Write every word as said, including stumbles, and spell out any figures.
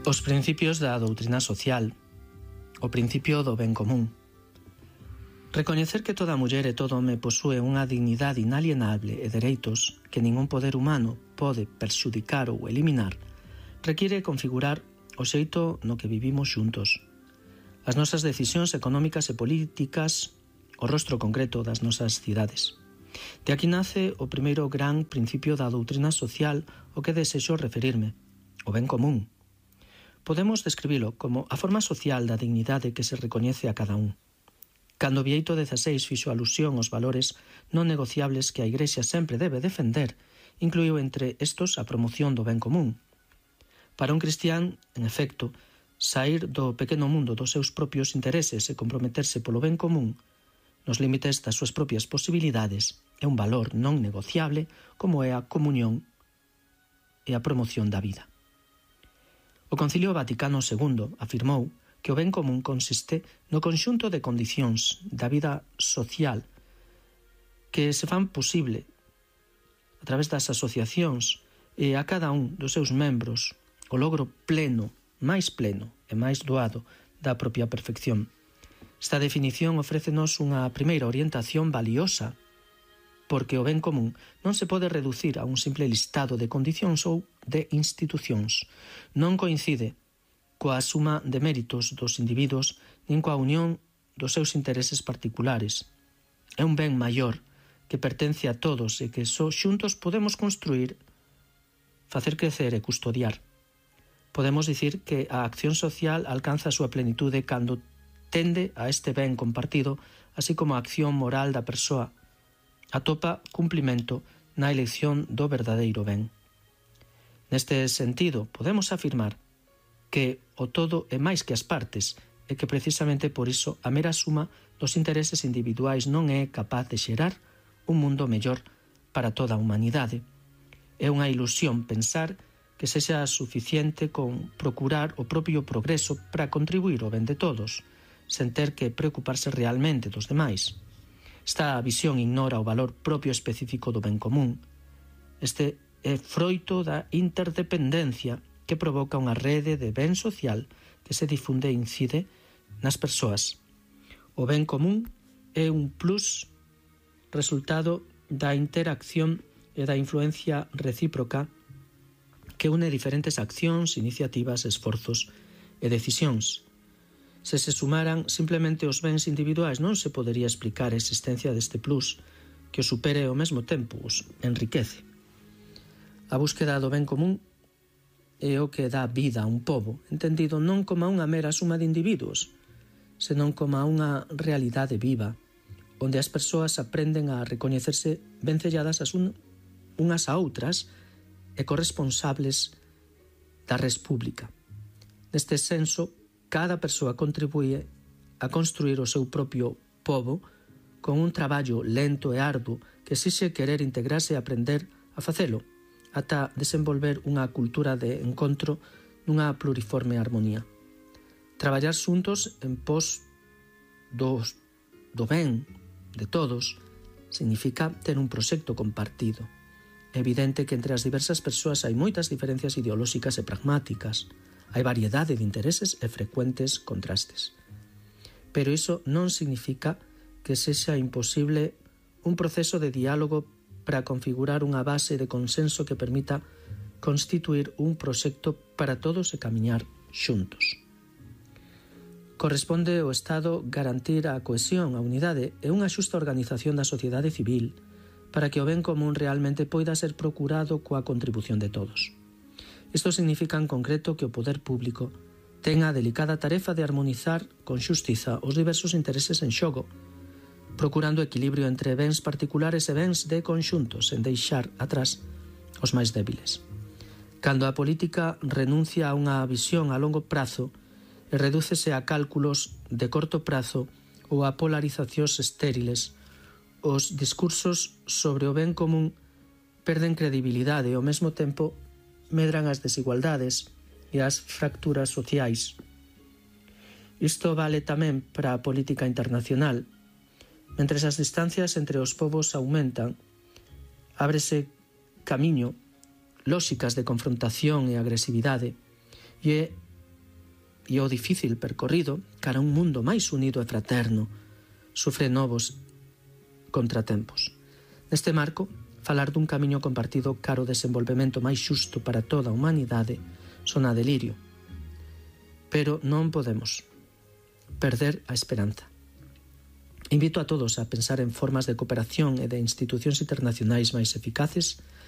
Os principios da doutrina social, o principio do ben común. Recoñecer que toda muller e todo home posúe unha dignidade inalienable e dereitos que ningún poder humano pode perxudicar ou eliminar, require configurar o xeito no que vivimos xuntos. As nosas decisións económicas e políticas, o rostro concreto das nosas cidades. De aquí nace o primeiro gran principio da doutrina social ao que desexo referirme, o ben común. Podemos describilo como a forma social da dignidade que se recoñece a cada un. Cando Bieito dezasseis fixo alusión aos valores non negociables que a Igrexa sempre debe defender, incluiu entre estos a promoción do ben común. Para un cristián, en efecto, saír do pequeno mundo dos seus propios intereses e comprometerse polo ben común, nos límites das súas propias posibilidades, é un valor non negociable como é a comunión e a promoción da vida. O Concilio Vaticano segundo afirmou que o ben común consiste no conxunto de condicións da vida social que se fan posible a través das asociacións e a cada un dos seus membros o logro pleno, máis pleno e máis doado da propia perfección. Esta definición ofrécenos unha primeira orientación valiosa porque o ben común non se pode reducir a un simple listado de condicións ou de institucións. Non coincide coa suma de méritos dos individuos nin coa unión dos seus intereses particulares. É un ben maior que pertence a todos e que só xuntos podemos construir, facer crecer e custodiar. Podemos dicir que a acción social alcanza a súa plenitude cando tende a este ben compartido, así como a acción moral da persoa atopa cumplimento na elección do verdadeiro ben. Neste sentido, podemos afirmar que o todo é máis que as partes e que precisamente por iso a mera suma dos intereses individuais non é capaz de xerar un mundo mellor para toda a humanidade. É unha ilusión pensar que sexa suficiente con procurar o propio progreso para contribuir ao ben de todos, sen ter que preocuparse realmente dos demais. Esta visión ignora o valor propio específico do ben común. Este é froito da interdependencia que provoca unha rede de ben social que se difunde e incide nas persoas. O ben común é un plus resultado da interacción e da influencia recíproca que une diferentes accións, iniciativas, esforzos e decisións. Se se sumaran simplemente os bens individuais non se podería explicar a existencia deste plus que o supere ao mesmo tempo os enriquece. A búsqueda do ben común é o que dá vida a un pobo, entendido non como unha mera suma de individuos, senón como unha realidade viva, onde as persoas aprenden a recoñecerse vencelladas as un, unhas a outras e corresponsables da res pública. Neste senso, cada persoa contribúe a construir o seu propio pobo con un traballo lento e arduo que exixe querer integrarse e aprender a facelo, ata desenvolver unha cultura de encontro nunha pluriforme armonía. Traballar xuntos en pos dos, do ben de todos significa ter un proxecto compartido. É evidente que entre as diversas persoas hai moitas diferencias ideolóxicas e pragmáticas. Hai variedade de intereses e frecuentes contrastes. Pero iso non significa que sexa imposible un proceso de diálogo para configurar unha base de consenso que permita constituir un proxecto para todos e camiñar xuntos. Corresponde ao Estado garantir a cohesión, a unidade e unha xusta organización da sociedade civil para que o ben común realmente poida ser procurado coa contribución de todos. Isto significa en concreto que o poder público ten a delicada tarefa de armonizar con xustiza os diversos intereses en xogo, procurando equilibrio entre bens particulares e bens de conxunto, sen deixar atrás os máis débiles. Cando a política renuncia a unha visión a longo prazo e redúcese a cálculos de corto prazo ou a polarizacións estériles, os discursos sobre o ben común perden credibilidade e ao mesmo tempo medran as desigualdades e as fracturas sociais. Isto vale tamén para a política internacional. Mentres as distancias entre os povos aumentan, ábrese camiño lóxicas de confrontación e agresividade, e é e o difícil percorrido cara a un mundo máis unido e fraterno sufre novos contratempos. Neste marco, falar dun camiño compartido cara ao desenvolvemento máis xusto para toda a humanidade sona delirio. Pero non podemos perder a esperanza. Invito a todos a pensar en formas de cooperación e de institucións internacionais máis eficaces